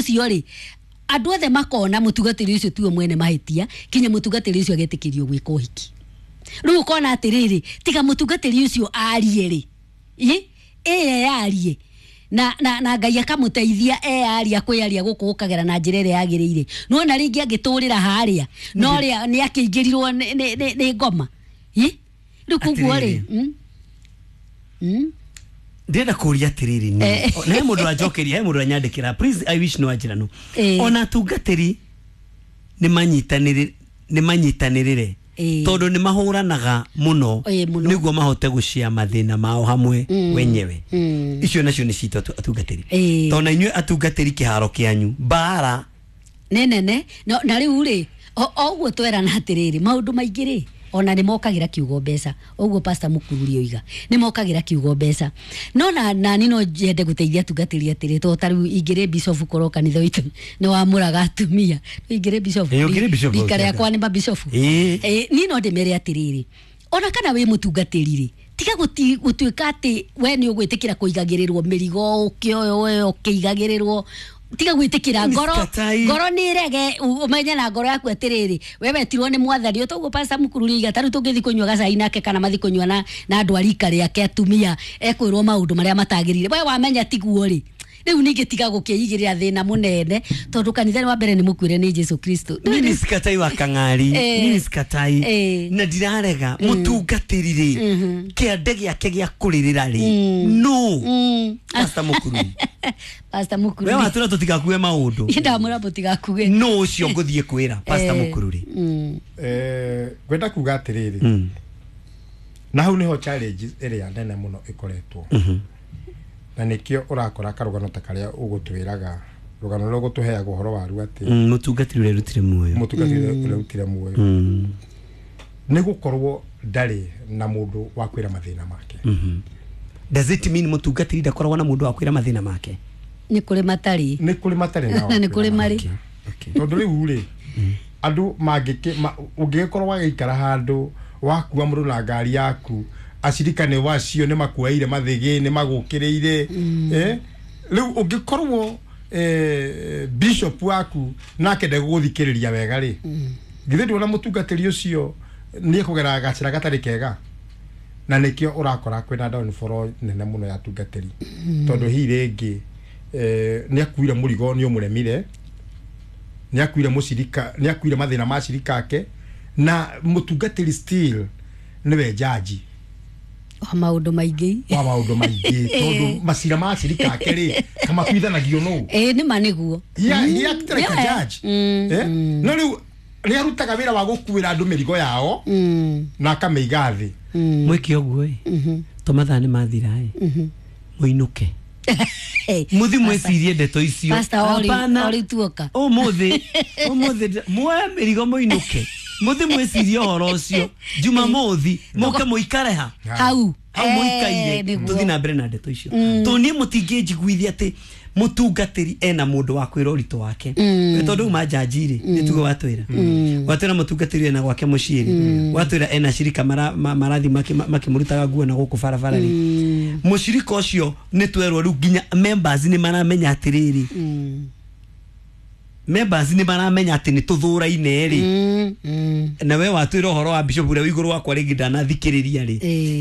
ũcio rĩ, andũ othe makona mũtungatĩri ũcio tiwe mwene mahĩtia, kinya mũtungatĩri ũcio agetĩkĩrio gwĩka ũhiki. Rĩu ũkona atĩrĩrĩ, tiga mũtungatĩri ũcio arie rĩ, ĩye yarie na Ngai akamũteithia eyaria kwĩyaria gũkũ gũkagera na njĩra ĩrĩa yagĩrĩire. Nĩwona rĩngĩ angĩtũrĩra harĩa no rĩa nĩ akĩingĩrirwo nĩ ngoma. Rĩu koguo rĩ, Atĩrĩrĩ. Ndĩrenda kũria atĩrĩrĩ, nĩ na he mũndũ anjokeria, he mũndũ anyandĩkĩra, please, I wish no anjĩra no ona atungatĩri nĩ manyitanĩrĩre tondũ nĩ mahũranaga mũno Mũno. nĩguo mahote gũcia mathĩna mao hamwe wenyewe. Icio nacio nĩ citũ atungatĩri, tondũ na inyuĩ atungatĩri kĩharo kĩanyu mbara nĩ nene. No, na rĩu rĩ, o ũguo twerana atĩrĩrĩ, maũndũ maingĩ rĩ, ona nĩ mokagĩra kiugo mbeca, ũguo Pastor Mũkururi oiga, nĩ mokagĩra kiugo mbeca. No na nani no nyende gũteithia atungatĩri atĩrĩ, to ta rĩu ingĩrĩ bishop, korwo kanitha witũ nĩ wamũraga atumia, ingĩrĩ bishop, Ũngĩrĩ bishop, rika rĩakwa nĩ mabishofu. Niĩ no ndĩmere atĩrĩrĩ, ona kana wĩ mũtungatĩri rĩ, tiga gũtuĩka atĩ we nĩ ũgwĩtĩkĩra kũigagĩrĩrwo mĩrigo, ũkĩoyo we ũkĩigagĩrĩrwo. Tiga gwĩtĩkĩra ngoro. Sikatai. Ngoro nĩ ĩrege, ũmenye na ngoro yaku atĩrĩrĩ, we wetirwo nĩ Mwathani. Ũtoguo Pastor Mũkururi iga, tarĩu tũngĩthiĩ kũnyua gacai nake kana mathiĩ kũnyua na andũ a rika rĩake atumia, ekwĩrwo maũndũ marĩa matagĩrĩire. We wamenya tiguo rĩ, rĩu ningĩ tiga gũkĩigĩrĩra thĩna mũnene, tondũ kanitha nĩ wa mbere nĩ mũkuĩre nĩ Jesu Kristo. Mimi sikatai wa kang'ari. Mimi sikatai na ndirarega mũtungatĩri rĩ, kĩande gĩake gĩa kũrĩrĩra rĩ, no Pastor Mũkururi, Pastor we Mũkururi, watũra tũtigakue maũndũ. Ndamũra mũtigakuge. No ũcio ngũthiĩ kwĩra Pastor Mũkururi. Ngwenda kuga atĩrĩrĩ, na hau nĩho challenge ĩrĩa nene mũno ĩkoretwo, na nĩkĩo ũrakora karũgano ta karĩa ũgũtwĩraga, rũgano rũrĩa ũgũtũheaga ũhoro waru atĩ Mũtungatĩri ũrĩa rutire muoyo. Mũtungatĩri ũrĩa ũrutire muoyo nĩ gũkorwo ndarĩ na mũndũ wa kwĩra mathĩna make. Does it mean mũtungatĩri ndakoragwo na mũndũ wa kwĩra mathĩna make? Nĩ kũrĩ matarĩ. Nĩ kũrĩ matarĩ na wa Na nĩ kwĩra kũrĩ marĩ. make. Tondũ rĩu rĩ, andũ mangĩkĩ ũngĩgĩkorwo wagĩikara handũ wakua mũndũ na ngari yaku, acirika nĩ wacio nĩ makuoeire mathĩgĩ, nĩ magũkĩrĩire. Rĩu ũngĩkorwo bishop waku nake ndegũgũthikĩrĩria wega rĩ, githĩ ndwona mũtungatĩri ũcio nĩ ekũgera gacĩra gatarĩ kega? Na nĩkĩo ũrakora kwĩna downfall nene mũno ya atungatĩri, tondũ hihi rĩngĩ nĩ akuire mũrigo, nĩ ũmũremire, nĩ akuire mũcirika, nĩ akuire mathĩna ma cirika ake, na mũtungatĩri still nĩwe jaji wa maũndũ maingĩ. Wa maũndũ maingĩ, tondũ macira ma cirika ake rĩ, kamatuithanagio nũ? Ĩĩ, nĩ ma nĩguo. He acted like a judge. No rĩu nĩ arutaga wĩra wa gũkuĩra andũ mĩrigo yao na akamĩiga thĩ. Mwĩke ũguo ĩ, to mathaa nĩ mathira ĩ, mũinũke muthi mwĩcirie ndeto icio. Pastor, ori Hapana. ori tuoka. Ũmũthĩ, ũmũthĩ muoe mĩrigo mũinũke, mũthi mwĩcirie ũhoro ũcio. Jumamothi mũke mũikare ha hau. Hau mũikaire. Nĩguo. Tũthiĩ na mbere na ndeto icio, tondũ niĩ mũtingĩnjiguithia atĩ mũtungatĩri ena mũndũ wa kwĩra ũritũ wake. Tondũ rĩu manjanji rĩ, nĩ tuge watwĩra mũtungatĩri ena gwake mũciĩ rĩ, watwĩra ena cirika marathiĩ makĩmũrutaga nguo na gũkũ barabara rĩ, mũcirika ũcio nĩ twerwo rĩu nginya members nĩ maramenya atĩrĩrĩ, members nĩ maramenya atĩ nĩ tũthũraine rĩ. Na we watwĩra ũhoro wa bishop ũrĩa wĩ igũrũ wakwa rĩngĩ ndanathikĩrĩria rĩ,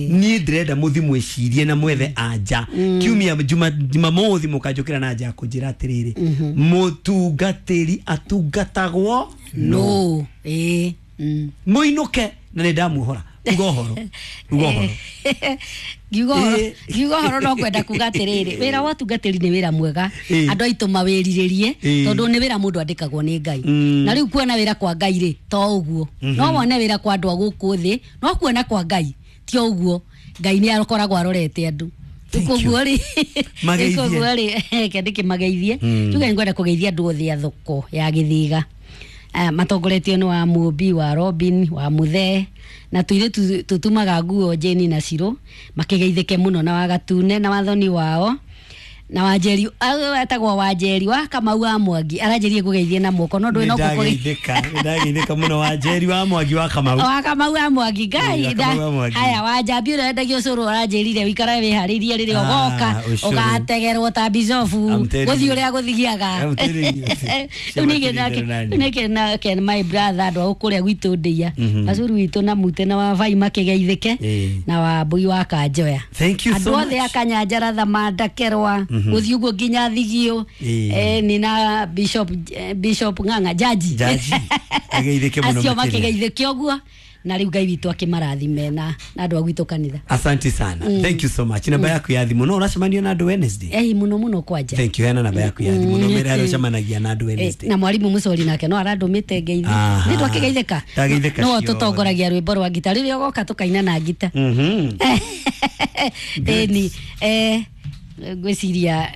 niĩ ndĩrenda mũthi mwĩcirie na mwethe anja kiumia jumamothi mũkanjũkĩra na anja ya kũnjĩra atĩrĩrĩ, mũtungatĩri atungatagwo No ĩĩ. Mũinũke na nĩ ndamuohora. Uga ũhoro, uga ũhoro. Ngiuga ũhoro, ngiuga ũhoro, no kwenda kuga atĩrĩrĩ, wĩra wa ũtungatĩri nĩ wĩra mwega. Andũ aitũ mawĩrirĩrie, tondũ nĩ wĩra mũndũ andĩkagwo nĩ Ngai. Na rĩu kuona wĩra kwa Ngai rĩ, to ũguo no wone wĩra kwa andũ a gũkũ thĩ, no kuona kwa Ngai ti ũguo. Ngai nĩ akoragwo arorete andũ. Thank you. Koguo rĩ, Mageithie. koguo rĩ, reke ndĩkĩmageithie. Tuge ngwenda kũgeithia andũ othe a thoko ya Gĩthiga. Matongoretio nĩ wa Mũmbi, wa Robin, wa Mũthee, na tũirĩtu tũtumaga nguo Jeni na Cirũ, makĩgeithĩke mũno, na Wagatune na wathoni wao. Na Wanjeri etagwo Wanjeri wa Kamau wa Mwangi aranjĩrie ngũgeithie na moko no ndũĩ no Nĩndageithĩka mũno Wanjeri wa Mwangi wa Kamau. Wa Kamau wa Mwangi Ngai. Haya Wanjambi ũrĩa wendagia ũcũrũ aranjĩrire wĩikare wĩharĩirie rĩrĩa ũgoka ũgategerwo ta bicobu gũthiĩ ũrĩa gũthiaga. Rĩu ningĩ nake my brother andũ a kũrĩa gwitũ ndĩia Macuru witũ na Mute na wa Vai makĩgeithĩke na wa Mbui wa Kanjoya. Andũ othe a Kanyanjara Thamanda Kerwa gũthiĩ ũguo nginya Thigio nĩ na Bishop Ng'ang'a Jaji ageithĩke mũno acio makĩgeithĩke ũguo na rĩu Ngai witũ akĩmarathime na andũ a gwitũ kanitha. Asante sana. Thank you so much. Namba yaku ya thimũ no ũracemania na andũ Wednesday? Mũno mũno kwanja. Thank you. Hena namba yaku ya thimũ no mere arĩa ũcemanagia na andũ Wednesday. Na mwarimu Mũcori nake no arandũmĩte ngeithi. Nĩ twakĩgeithĩka. Ndageithĩka. No tũtongoragia rwĩmbo rwa ngita rĩrĩa ũgoka tũkaina na ngita. Ĩni ngwĩciria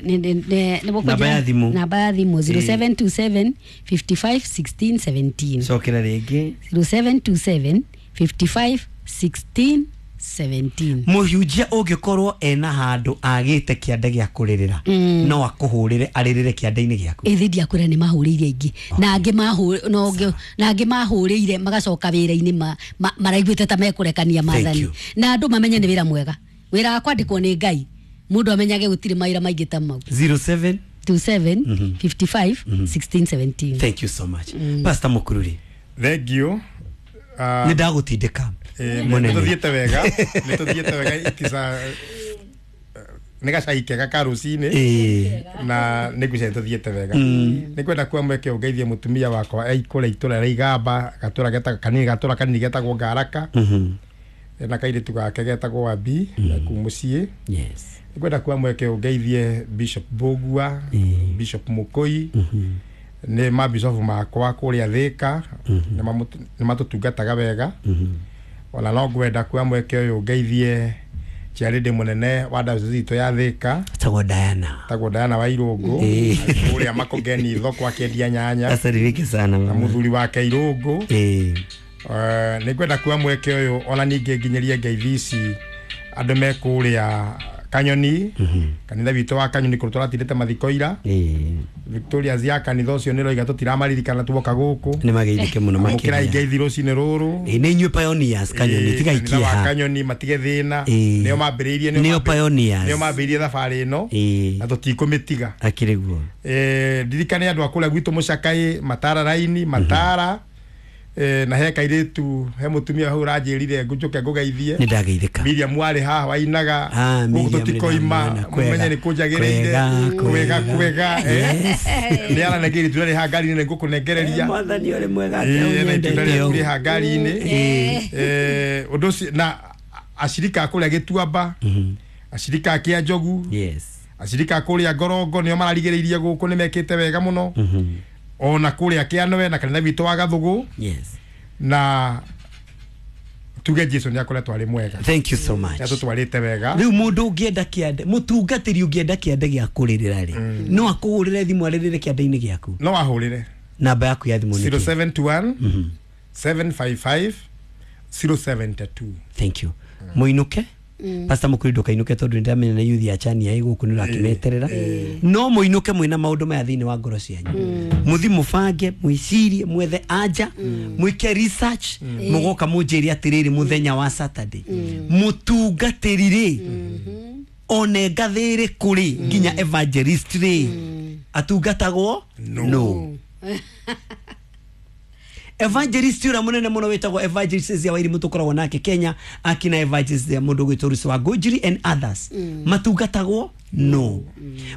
namba ya thimũ. Namba ya thimũ 0727 55 16 17. Cokera rĩngĩ. 0727 55 16 17. Mũhunjia ũngĩkorwo ena handũ agĩte kĩande gĩa kũrĩrĩra no akũhũrĩre arĩrĩre kĩande-inĩ gĩaku. Ĩthi ndiakwĩra nĩ mahũrĩire aingĩ na angĩ na angĩ mahũrĩire magacoka wĩra-inĩ maraiguĩte ta mekũrekania maathani na andũ mamenye nĩ wĩra mwega, wĩra wa kwandĩkwo nĩ Ngai mũndũ amenyage gũtirĩ mawĩra maingĩ ta mau. 07 27 55 16 17. Thank you so much. Pastor Mukururi. Thank you. Nĩ ndagũtindĩka mũnene. Nĩ wega, nĩ tũthiĩte wega itisa nĩ gacai kega ka rũcinĩ na nĩ ngwĩciria nĩ tũthiĩte wega. Nĩ ngwenda kuoya mweke ũngeithie mũtumia wakwa kũrĩa itũra rĩa Igamba, gatũra gatũra kanini getagwo Ngaraka na kairĩtu gake getagwo Wabi kuu mũciĩ. Yes. Ngwenda kuoya mweke ũngeithie Bishop Mbũgua, Bishop Mũkũi, nĩ mabishofu makwa kũrĩa Thĩka, nĩ matũtungataga wega. Ona no ngwenda kuoya mweke ũyũ ngeithie chairlady mũnene wa diocese itũ ya Thĩka tagwo Diana, tagwo Diana wa Irũngũ kũrĩa Makongeni thoko akĩendia nyanya. Asalimike sana na mũthuri wake Irũngũ. Nĩ ngwenda kuoya mweke ũyũ ona ningĩ nginyerie ngeithi ici andũ me kũrĩa Kanyoni, kanitha witũ wa Kanyoni kũrĩa tũratindĩte mathiko ira. Victoria ya kanitha ũcio nĩ roiga tũtiramaririkana tuoka gũkũ. Nĩ mageithĩke mũno makĩria. Mũkĩrai ngeithi rũcinĩ rũrũ. Nĩ inyuĩ pioneers Kanyoni, tigai kĩeha. Kanitha wa Kanyoni matige thĩna. Nĩo mambĩrĩirie, nĩo pioneers. Nĩo mambĩrĩirie thabarĩ ĩno na tũtikũmĩtiga. Akĩrĩ guo. Ndirikane andũ a kũrĩa gwitũ Mũcakai, Matara raini, Matara na he kairĩtu he mũtumia hau ũranjĩrire ngũnjũke ngũgeithie. Nĩ ndageithĩka. Miriam warĩ haha wainaga gũkũ tũtikoima mũmenye nĩ kũnjagĩrĩire kwega kwega. Nĩ aranengeire itunda rĩ haha ngari-inĩ nĩ ngũkũnengereria. Mwathani ũrĩ mwega na itunda rĩaku rĩ haha ngari-inĩ. Ũndũ ũcio na acirika a kũrĩa Gĩtuamba, acirika a Kĩanjogu, acirika a kũrĩa Ngorongo nĩo mararigĩrĩirie gũkũ nĩ mekĩte wega mũno. Ona kũrĩa Kĩanwe na kanitha witũ wa Gathũgũ. Yes. Na tuge Jesu nĩ akoretwo arĩ mwega. Thank you so much. Nĩ atũtwarĩte wega. Rĩu mũndũ ũngĩenda kĩande, mũtungatĩri ũngĩenda kĩande gĩa kũrĩrĩra rĩ, no akũhũrĩre thimũ arĩrĩre kĩande-inĩ gĩaku? No ahũrĩre. Namba yaku ya thimũ nĩ 0721 755 072. Thank you. Mũinũke. Pastor Mũkuri ndũkainũke tondũ nĩ ndamenya nĩ youth ya chani ya gũkũ nĩ ũrakĩmeterera. No mũinũke mwĩna maũndũ maya thĩinĩ wa ngoro cianyu. Mũthi mũbange, mwĩcirie, mwethe anja, mwĩke research, mũgoka mũnjĩre atĩrĩrĩ mũthenya wa Saturday. Mũtungatĩri rĩ, one ngathĩrĩ kũrĩ nginya evangelist rĩ, atungatagwo no. Evangelist ura munene muno wetagwo evangelist ya Wairimu tukoragwo nake Kenya, akina evangelist ya mundu gwitwo Rusi wa Ngũnjiri and others matungatagwo no.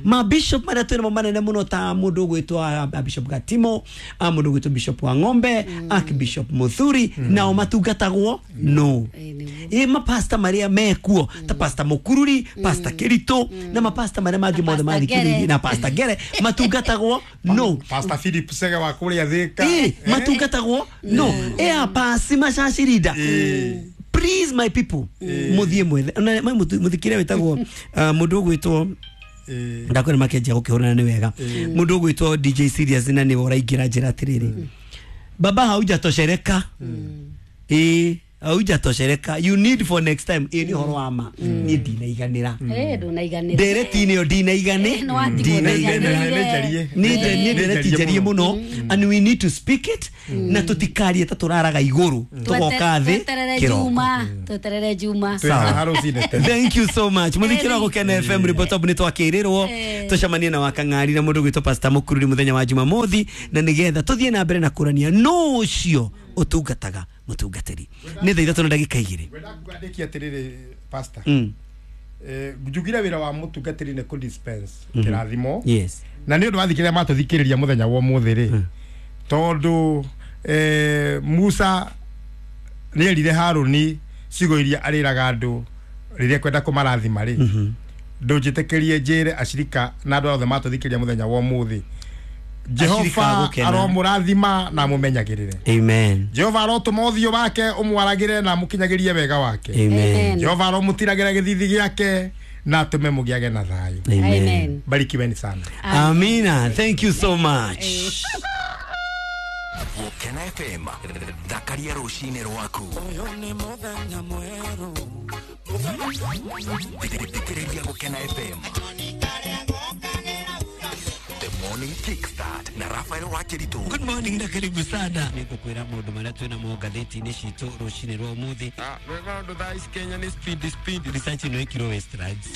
Ma bishop maria twina manene muno ta mundu gwitwo Bishop Gatimo, mundu gwitwo Bishop wa Ng'ombe, Archbishop Muthuri, nao matungatagwo no. Ma pastor maria mekuo ta Pastor Mukururi, Pastor Kirito na ma pastor maria mangi mothe mathikiririe na Pastor Ngere matungatagwo no. Pastor Philip Sega wa kũrĩa Thĩka matungatagwo no. Pasi macacirida. Please my people, muthie mwethe na muthikire wetagwo mundu ugwitwo ndakwira makenjia gukihurana ni wega mundu ugwitwo DJ Serious na ni uraingira njira atiriri baba haujatoshereka. Haujatoshereka. You need for next time. Ĩ nĩ ũhoro wa ma. Niĩ ndinaiganĩra. Ndũnaiganĩra. Ndereti-inĩ ĩyo ndinaigane. No watigwo Ndinaiganĩra. ndũiganĩire. Nĩ ndereti njarie mũno and we need to speak it na tũtikarie ta tũraraga igũrũ tũgoka thĩ Tweterere kĩroko. Juma, tweterere Juma. Sawa. Rũcinĩ tene. Thank you so much. Muthikira Gukena FM riboti nĩ twakĩrĩrwo tũcemanie na wakang'ari na mũndũ gwĩtwo Pastor Mũkururi mũthenya wa Jumamothi na nĩgetha tũthiĩ na mbere na kũrania no ũcio ũtungataga mũtungatĩri. Nĩ thaa 3:02. Ngwenda ngwandĩkie atĩrĩrĩ pastor. Mm. Njugire wĩra wa mũtungatĩri nĩ kũ dispense kĩrathimo. Yes. Na nĩ ũndũ wa thikĩrĩria matũthikĩrĩria mũthenya wa ũmũthĩ rĩ, tondũ Musa nĩ erire Harũni ciugo iria arĩraga andũ rĩrĩa kwenda kũmarathima rĩ, ndũnjĩtĩkĩrie njĩre acirika na andũ othe matũthikĩrĩria mũthenya wa ũmũthĩ, Ashirika Jehova gũkena. aromũrathima na amũmenyagĩrĩre. Amen. Jehova arotũma ũthiũ wake ũmwaragĩre na amũkinyagĩrie wega wake. Amen. Jehova aromũtiragĩra gĩthithi gĩake na atũme mũgĩage na thayũ. Amen. Barikiweni sana. Amina. Thank you so much. Gukena FM thakaria rũcinĩ rwaku. Thikĩrĩria Gukena FM The Morning Kickstart na Rafael Wakiritu. Good morning na karibu sana. Nĩngũkwĩra maũndũ marĩa twĩna mo ngathĩti-inĩ citũ rũcinĩ rwa ũmũthĩ. Rwega ũndũ thaa ici Kenya nĩ speed speed. Research ĩno ĩkirwo Westlands.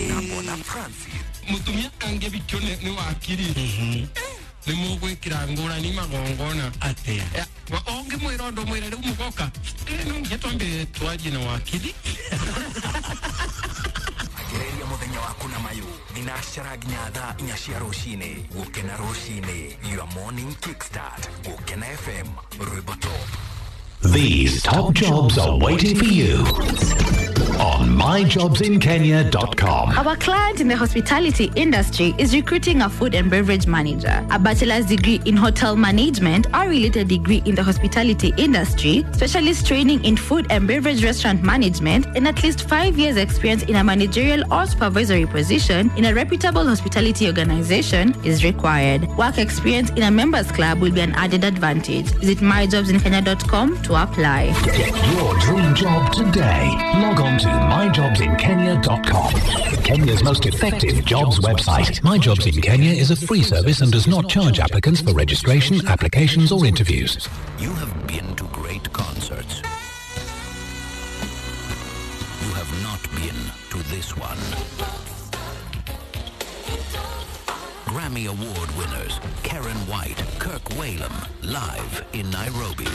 Na Bona Francis. Mũtumia angĩbikio nĩ wakiri nĩ mũgwĩkĩra ngũrani magongona. Atĩa? Ũngĩmwĩra ũndũ mwĩre rĩu mũgoka no nginya twambe twarie na wakiri. Gereria mũthenya waku na mayũ thinacara nginya thaa 4 cia rũcinĩ. Gukena rũcinĩ, your morning kickstart. Gukena FM rwĩmbo top. These top jobs are waiting for you on myjobsinkenya.com. Our client in the hospitality industry is recruiting a food and beverage manager, a bachelor's degree in hotel management or related degree in the hospitality industry, specialist training in food and beverage restaurant management, and at least 5 years experience in a managerial or supervisory position in a reputable hospitality organization is required. Work experience in a members club will be an added advantage. Visit myjobsinkenya.com to apply. Get your dream job today. Log on to myjobsinkenya.com. Kenya's most effective jobs website. My Jobs in Kenya is a free service and does not charge applicants for registration, applications or interviews. You have been to great concerts. You have not been to this one. Grammy Award winners Karen White, Kirk Whalum, live in Nairobi.